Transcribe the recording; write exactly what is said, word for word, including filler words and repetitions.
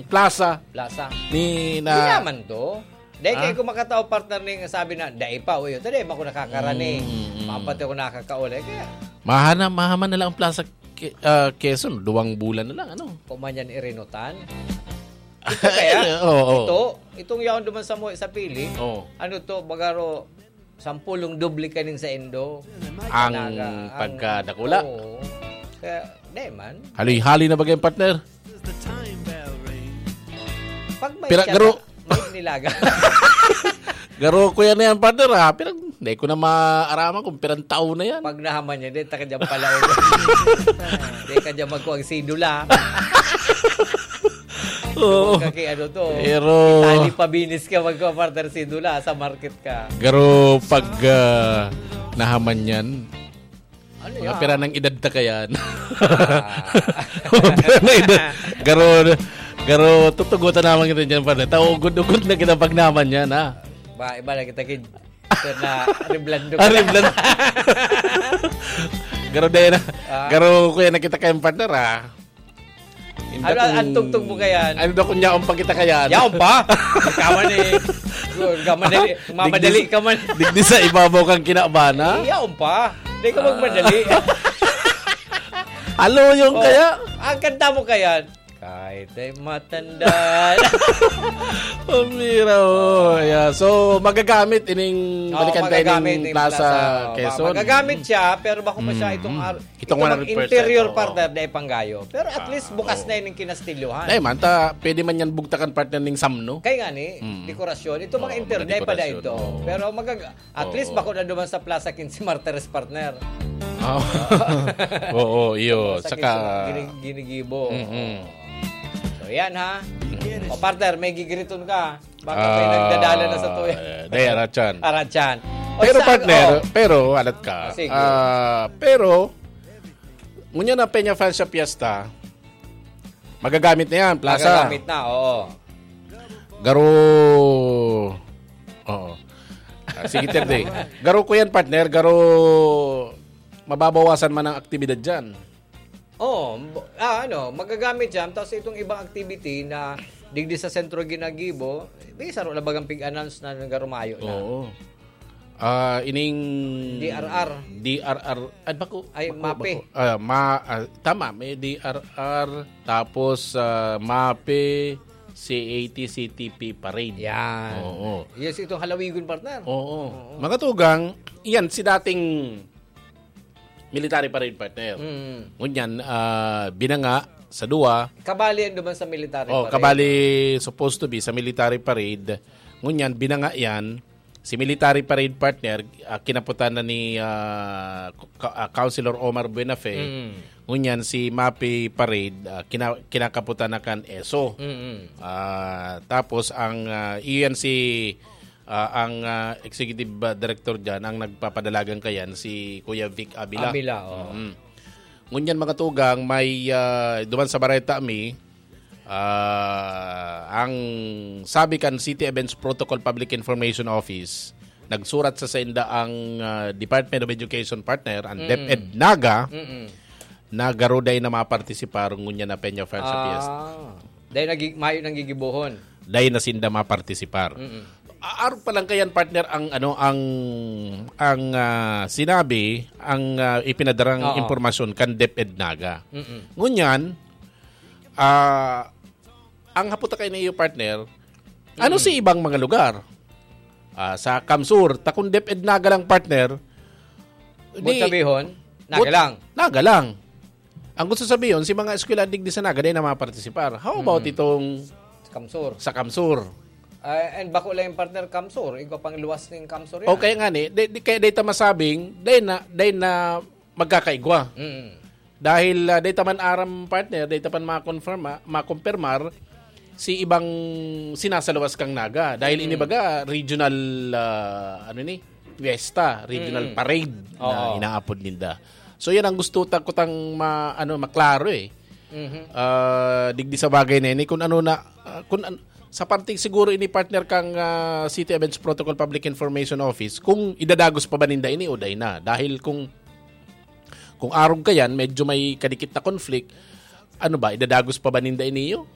plaza Plaza. ni Kaya na man to. Dahil Ah? kayo kumakataw partner ning sabi na, dai pa, uy, ito dai, bako nakakarani. Mm, mm. Mapati ko nakakaulay. Kaya, mahana mahaman na lang ang plaza Ke- ah, Quezon, duwang bulan na lang, ano? Kumanyan irinutan. Ito kaya? Oo. Ito, itong yaon duman sa mo sa pili. Oo. Ano to, bagaro, sampulong doble kaning sa Indo. Ang Naga, ang- pagkadakula. Oo. Kaya, di man. Haloy-haloy na bagay, partner. Pag may Pira- tiyata, garo- may nilaga. Garo ko yan, yan, partner, ha? Pirang, hindi ko na maaraman kung pirang taon na yan. Pag nahaman niya, di, taka dyan pala. Di ka dyan magkuhang sidula. Oo. Kaki ano to. Pero, Tali pabinis ka magkuha partner sidula sa market ka. garo pag ah, nahaman yan. Ano Mga yan? pira ng edad ta kayan. Ah. Mga pira ng edad. Garo, garo, tutugutan naman kita dyan, partner. Taugod-ugod na kita pag naman yan, ha? Ba, iba na kita kid. Sir na reblando ka. Ari, blan. Garo, dahil na. Ah. Garo, kuya, nakita kayong partner, ha? Hindi Ano, akong- ang tugtog mo kayan? Ano daw kung yaon pa kita kayan? Yaon pa? Ikaw man eh. Ikaw man eh. Mamadali ka man. Digdi sa ibabaw kang kinabana? Yaon pa. Hindi ka magmadali. Alo yung Oh, kaya? Ang kanta mo kayan. Kahit ay matanda. Pamira, oh. Yeah. So, magagamit ining Oo, balikan tayo magagamit ng yung Plaza Plaza. Quezon. Magagamit siya, pero bako pa siya Mm. itong ar- Itong itong one hundred percent, interior oo. partner na ipanggayo. Pero at Ah, least bukas oo. na yun yung kinastilyohan. Dahil man, ta, pwede man yan bugtakan partner ng samno. Kaya nga ni, Mm. dekorasyon. Ito mga Oo, interior, mga dahil pa dahil dekorasyon, to. oo. Pero mag at least Oo. bako na duman sa Plaza Quince Martires partner. Oo. Oo, iyo. Sa Saka, Quince, gini- ginigibo. Mm-mm. So yan ha. O partner, may gigiriton ka. Baka may Ah, nagdadala na sa tuya. eh, dahil, Arachan. Arachan. O, Pero sa- partner, oh. pero alat ka. Ah, sige. Ah, pero, ngunyan na Peña Francia Fiesta, magagamit na yan, Plaza. Magagamit na, oo. Garo, oo. Ah, sige, Terday. Garo ko yan, partner. Garo, mababawasan man ang aktibidad dyan. Oo, b- ah, ano, magagamit yan. Tapos itong ibang activity na digdi sa sentro ginagibo, may saro na bagang pig-announce na nagarumayo na. Oo. Ah, ining D R R. D R R. Ay, bako. Ay, bako, MAPE. bako. Ah, ma, ah, tama, may D R R, tapos ah, MAPE, C A T, C T P parade. Yan. Oo. Yes, itong halawigon, partner. Oo. Mga tugang, yan si dating military parade partner. Mm. Ngunyan, ah, binanga sa duwa. Kabali yan duman sa military Oh, parade. Kabali supposed to be sa military parade. Ngunyan, binanga yan. Si military parade partner, ah, kinaputan na ni ah, Ka- ah, Councilor Omar Buenafe. Mm. Ngunyan, si MAPE parade, ah, kina- kinakaputan na kan ESO. Mm-mm. Ah, tapos ang ah, iyan si ah, ang ah, executive ah, director diyan, ang nagpapadalagan kayan, si Kuya Vic Abila. Abila, oh. Mm. Ngunyan, mga tugang, may ah, duman sa Bareta mi, ah, ang sabi kan City Events Protocol Public Information Office, nagsurat sa sainda ang ah, Department of Education partner, ang Mm. DepEd Naga, Mm-mm. na garo dai na mapartisipar ngunyan na Peña Francia Fiesta. Ah. Dahil nagig mayo nang gigibohon. Dai na sinda mapartisipar. Mm-mm. Aarog pa lang kayan, partner, ang ano ang ang ah, sinabi, ang ah, ipinadarang Oo. impormasyon kan DepEd Naga. Mm-mm. Ngunyan, ah, ang haputa kay niyo, partner, ano Mm. si ibang mga lugar? Ah, sa CamSur, takong DepEd Naga lang, partner. Buot sabihon, Naga But- lang. Naga lang. Ang gusto sabihin, si mga eskwela digdi sa Naga, dai na mapartisipar. How about Mm. itong CamSur. sa CamSur? Ah, and bako lang yung partner CamSur, igwa pang luwas ning CamSur yan. Okay nga ni, di, di, kaya dai ta masabing, dai na, dai na magkakaigwa. Mm. Dahil ah, dai ta man aram, partner, dai ta pan makonfirma, makumpirmar si ibang sinasaluwas kang Naga. Dahil Mm. inibaga, regional, ah, ano ni, fiesta, regional Mm. parade na Oo. inaapod ninda. So yan ang gusto ta kutang ma, ano, maklaro eh. Mhm. Ah, digdi sa bagay na ini, kung ano na, ah, kung an- sa parte siguro ini, partner, kang ah, City Events Protocol Public Information Office, kung idadagos pa ba ninda ini o dai na. Dahil kung kung arog kayan, medyo may kadikit na conflict, ano ba, idadagos pa ba ninda ini iyo?